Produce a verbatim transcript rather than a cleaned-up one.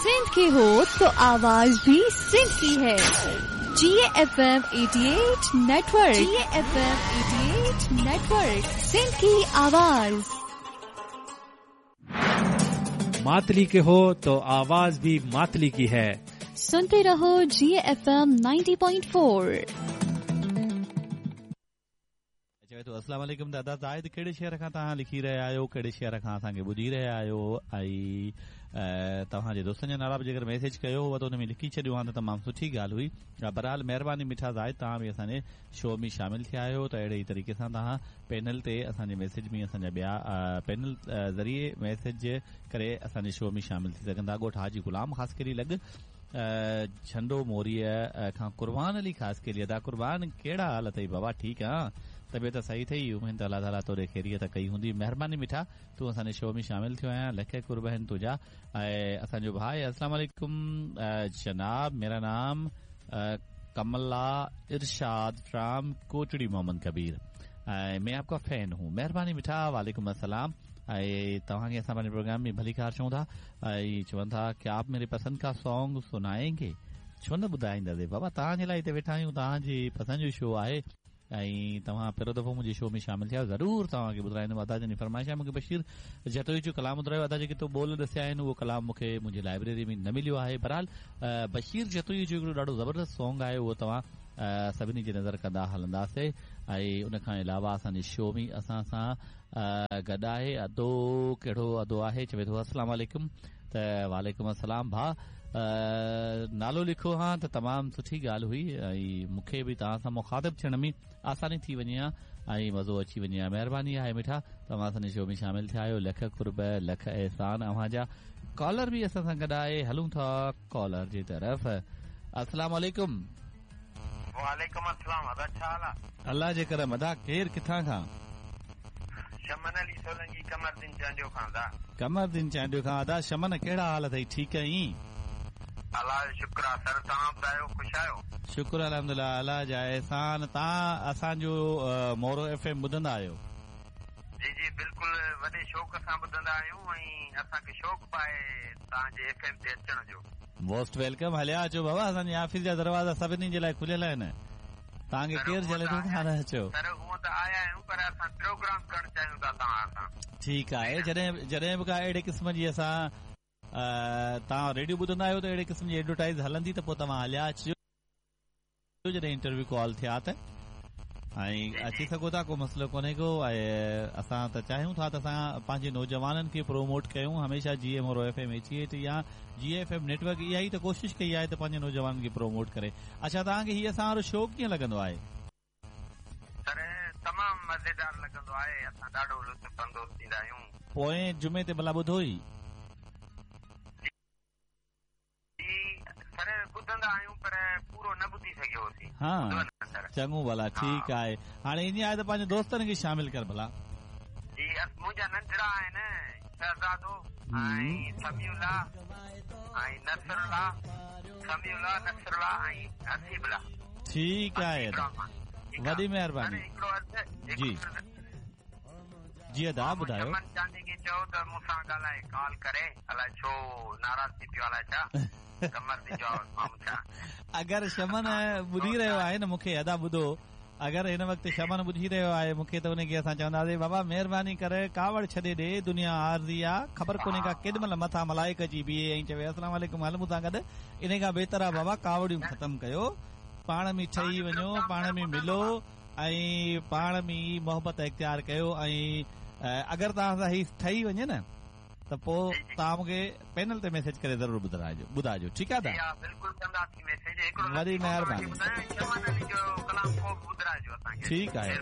सिंध के हो तो आवाज भी सिंध की है। G F M eighty eight network, G F M eighty eight network, Sindh की आवाज। मातली के हो तो आवाज भी मातली की है। सुनते रहो G F M ninety point four. चवे थो अस्सलाम वालेकुम दादा ज़ाहिद, कहिड़े शहर खां तव्हां लिखी रहिया आहियो, कहिड़े शहर खां असांखे ॿुधी रहिया आहियो? ऐं तव्हांजे दोस्तनि जा नाला बि जेकर मैसेज कयो हुआ त हुन में लिखी छॾियो हा त तमामु सुठी ॻाल्हि हुई। बहरहाल महिरबानी मिठा ज़ाहिद, तव्हां बि असांजे शो में शामिल थिया आहियो त अहिड़े ई तरीक़े सां तव्हां पैनल ते असांजे मैसेज में असांजा ॿिया पैनल ज़रिए मैसेज करे असांजे शो में शामिल थी सघंदा। ॻोठ हाजी ग़ुलाम ख़ासकेली लॻ झंडो मोरीअ खां कुर्बान अली ख़ासकेली। अदा कुर्बान, कहिड़ा हाल अथई बाबा? ठीकु आहे, तबियत सही अथई? उमेद त अलाह ताला तोरे ख़ैरियत कई हूंदी। महिरबानी मिठा, तूं असांजे शो में शामिल थियो आहियां, लख कुर्ब आहिनि तुंहिंजा। ऐं असांजो भाई अस्सलाम वालेकुम जनाब, मेरा नाम कमला इरशाद फ्राम कोटड़ी मोहम्मद कबीर, ऐं मैं आपका फैन हूँ। महिरबानी मिठा, वालेकुम अस्सलाम। ऐं तव्हांखे असां पंहिंजे प्रोग्राम में भलीकार चऊं था। ऐं चवनि था कि आप मेरे पसंद का सॉन्ग सुनाएंगे? छो न ॿुधाईंदासीं बाबा, तव्हांजे लाइ हिते वेठा आहियूं, तव्हांजी पसंद जो शो आहे ऐं तव्हां पहिरियों दफ़ो मुंहिंजे शो में शामिल थिया, ज़रूरु तव्हांखे ॿुधाईंदुमि। अदा जन फरमाइश आहे, मूंखे बशीर जतोई जो कलाम ॿुधायो। अदा जेके तो ॿोल ॾसिया आहिनि उहो कलाम मूंखे मुंहिंजी लाइब्रेरी में न मिलियो आहे। बहरहाल बशीर जतोई जो हिकिड़ो ॾाढो ज़बरदस्त सॉन्ग आहे, उहो तव्हां सभिनी जी नज़र कंदा हलंदासीं। ऐं उन खां अलावा असांजे शो में असां सां गॾु आहे अदो, कहिड़ो अदो आहे? चवे थो अस्सलाम वालेकुम। त वालेकुम अस्सलाम भाउ, नालो लिखो हा त तमामु सुठी ॻाल्हि हुई ऐं मूंखे बि तव्हां सां मुखातिब थियण में आसानी थी वञे हा ऐं मज़ो अची वञे हा। महिरबानी आहे मिठा, तव्हां असांजे शो में शामिल थिया आहियो, लख कुर्ब लख एहसान अव्हां जा। कॉलर बि असां सां गॾु आहे, हलूं था कॉलर जी तरफ़। अस्सलाम वालेकुम। वालेकुम अस्सलाम। अदा छा हाल आहे? अलाह जे करम। अदा केरु किथां खां? शमन अली सोलंगी, कमरदीन चांडियो खां। अदा कमरदीन चांडियो खां। अदा शमन, कहिड़ा हाल अथई? ठीकु आहीं? अलाह जो शुक्र आहे। सर तव्हां ॿुधायो, ख़ुशि आहियो? शुक्र अल्हम्दुलिल्लाह, अलाह जा एहसान। तव्हां असांजो मोरो एफ एम ॿुधंदा आहियो? जी जी बिल्कुलु, वॾे शौक़ सां ॿुधंदा आहियूं ऐं असांखे शौक़ बि आहे तव्हांजे एफ एम ते अचण जो। मोस्ट welcome, हलिया अचो बाबा, असांजे ऑफिस जा दरवाज़ा सभिनी जे लाइ खुलियल आहिनि, तव्हांखे केरु झले थो तव्हां न अचो। सर हूअं त आया आहियूं, पर असां प्रोग्राम करणु चाहियूं था तव्हां सां। ठीकु आहे, जॾहिं जॾहिं बि का अहिड़े क़िस्म जी असां तव्हां रेडियो ॿुधंदा आहियो त अहिड़े क़िस्म जी एडवर्टाइज़ हलंदी त पोइ तव्हां हलिया अचिजो, जॾहिं इंटरव्यू कॉल थिया त ऐं अची सघो था, को मसइलो कोन्हे को। ऐं असां त चाहियूं था त असां पंहिंजे नौजवाननि खे प्रोमोट कयूं हमेशह। G M Moro F M eighty eight या जी एफ एम नेटवर्क इहा ई त कोशिशि कई आहे त पंहिंजे नौजवाननि खे प्रोमोट करे। अच्छा, तव्हांखे हीअ असां वारो शो कीअं लॻंदो आहे? सर तमामु मज़ेदार लॻंदो आहे, असां ॾाढो लुत्फ़ अंदोज़ थींदा आहियूं। पोएं जुमे ते भला ॿुधो ई? सर ॿुधंदा आहियूं पर पूरो न ॿुधी सघियोसीं। हा चङो भला, ठीकु आहे। हाणे ईअं आहे त पंहिंजे दोस्तनि खे शामिल कर भला। जी मुंहिंजा नंढड़ा आहिनि, शहज़ादो ऐं समीउल्ला ऐं नसरुल्ला, समीउल्ला नसरुल्ला ऐं हसीबुल्ला। ठीकु आहे, वॾी महिरबानी। जी जी अदा ॿुधायो। चांदी खे चओ त मूंसां ॻाल्हाए, कॉल करे, अलाए छो नाराज़ थी पियो अलाए छा। अगरि शमन ॿुधी रहियो आहे न मूंखे, अदा ॿुधो, अगरि हिन वक़्तु शमन ॿुधी रहियो आहे मूंखे त उनखे असां चवंदासीं बाबा महिरबानी करे कावड़ छॾे ॾे, दुनिया आर्ज़ी आहे, ख़बर कोन्हे का केॾी महिल मथां मलाइक अची बीहे ऐं चवे अस्सलाम वालेकुम हल मूंसां गॾु। इन खां बहितर आहे बाबा कावड़ियूं ख़तमु कयो, पाण में ठही वञो, पाण में मिलो ऐं पाण में मोहबत इख़्तियार कयो। ऐं अगरि तव्हां सां ही ठही वञे न त पोइ तव्हां मूंखे पैनल ते मैसेज करे ज़रूरु ॿुधाइजो ॿुधाइजो ठीकु आहे? वॾी महिरबानी, ठीकु आहे।